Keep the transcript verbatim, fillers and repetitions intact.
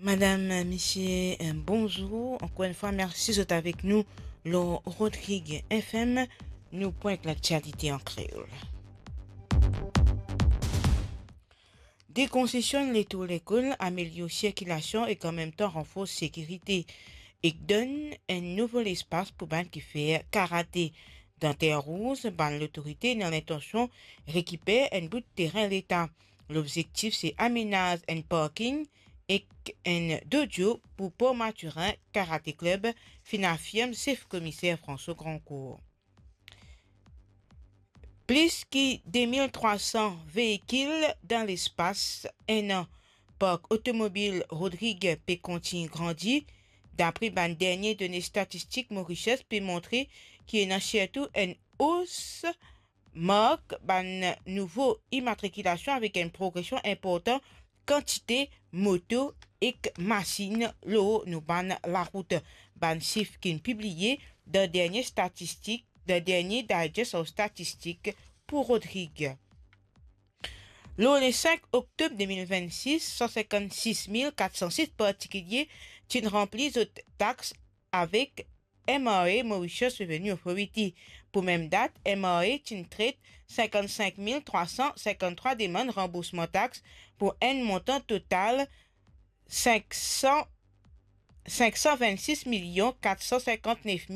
Madam, misie, eh, bonzour. Ankor enn fwa, mersi zot avek nou lor Rodrig F M. Nou pwint laktialite an kreol. Dekonzestionn letour lekol, amelior sirkilasion ek anmemtan ranfors sekirite ek donn enn nouvo lespas pou bann ki fer karate. Dan Terre Rouge, bann lotorite ena lintansion rekiper enn bout terin Leta. Lobzektif se amenaz enn parking ek enn dojo pou Port Mathurin Karate Club, finn afirm sef komiser François Grandcourt. Plis ki de mil trwa san veikil dan lespas enn an. Park otomobil Rodrig pe kontign grandi. Dapre bann dernie done statistik, Mauritius pe montre ki ena sirtou enn os mark bann nouvo imatrikilasion avek enn progresion inportan kantite moto ek masinn lor nou bann larout. Bann sif ki'nn pibliye dan dernie statistik, dan dernie digest of statistik pou Rodrig. Lor le sink oktob de mil vennsis, san sinkannsis mil kat san set partikilie ti'nn ranpli zot tax avek M R A, Mauritius Revenue Authority. Pou mem dat, M R A ti'nn tret sinkannsink mil trwa san sinkann-trwa demann ranboursman tax pou enn montan total sink san, sink san vennsis milion kat san sinkant-nef